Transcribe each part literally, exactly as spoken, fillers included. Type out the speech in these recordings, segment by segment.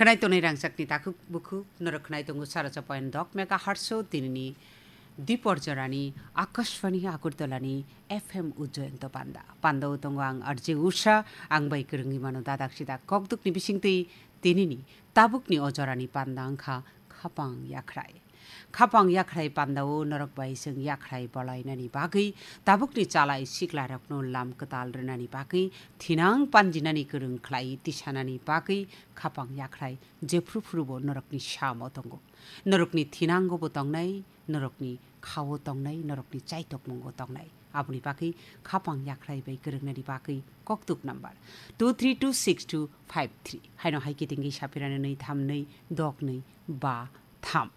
Khwnai tonwi rangchakni takhuk bukhuk, norok khwnai tongo saracha point dok megahertz o tinini Dipor jorani Akashvani Agartala ni F M Ujjayanta panda. Panda o tongo ang R J Usha, ang bai kwrwngwi mano dadak sidak kokdukni bisingtwi tinini tabukni o jorani panda wngkha Khapang Yakhrai. Khapang Yakhrai panda o norok bai chwng yakhrai bolainani bagwi, tabukni chalai siklarokno lam kwtal rwnani bagwi, thinang panjinani kwrwng khlai tisanani bagwi Khapang Yakhrai jephru phrubo norokni samo tongo. Norokni thinango bo tongnai, norokni khao tongnai, norokni chaitokmungo tongnai. Aboni bagwi Khapang Yakhrai bai kwrwngnani bagwi kokduk number two three two six two five three. Haino hai kitingwi sapirani nwi tham nwi dok nwi ba tham.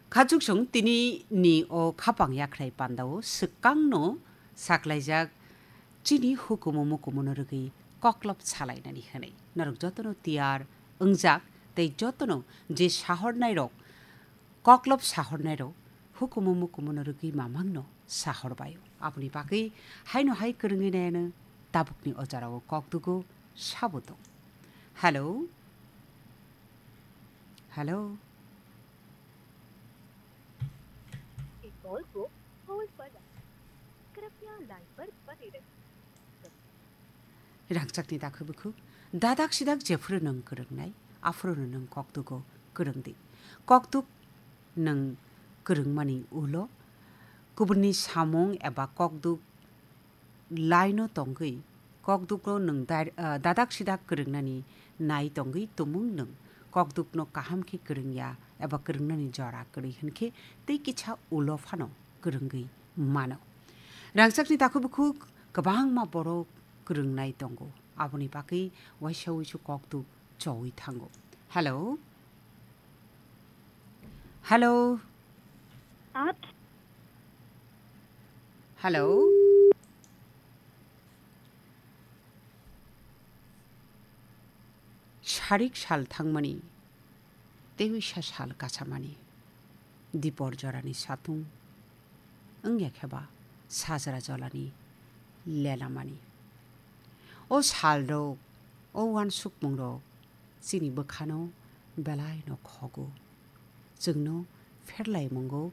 Khachuksong tini ni o Khapang Yakhrai panda o swkangno saklaijak chini hukumu mukumuno rwgwi koklop salainani hwnwi. Norok jotono tiyar wngjak tei jotono je sahornairok koklop sahornairok hukumu mukumuno rwgwi mamangno sahorbaio. Aboni bagwi haino hai kwrwngwi naiano tabukni o jorao kokdugo sabo tong. Hello? Hello? ये कॉल को होल्ड पर रखें। कृपया लाइन पर बने रहें। Rangchakni dakhu bukhu, dadak sidak jephuru nwng kwrwngnai, aphuru nwng kokdugo kwrwngdi. Kokduk nwng kwrwngmani ulo kubunni samung eba kokduk laino tongwi, kokdukno nwng dar-, ah, dadak sidak kwrwngnani nai tongwi tumung nwng kokdukno kaham khe kwrwngya eba kwrwngnani jora kwrwi hwnkhe tei kisa ulo phano kwrwngwi mano. Rangchakni takhuk bukhuk kwbangma borok kwrwngnai tongo, aboni bagwi waisa wuisu kokduk chowi thango. Hello? Hello? आप Hello? Sarik sal thangmani, tei wisa sal kachamani, dipor jorani satung wngya khe ba sajra jolani lelamani. O salrok, o uansukmungrok chini bwkhano belaino khogo. Chwngno pherlaimungo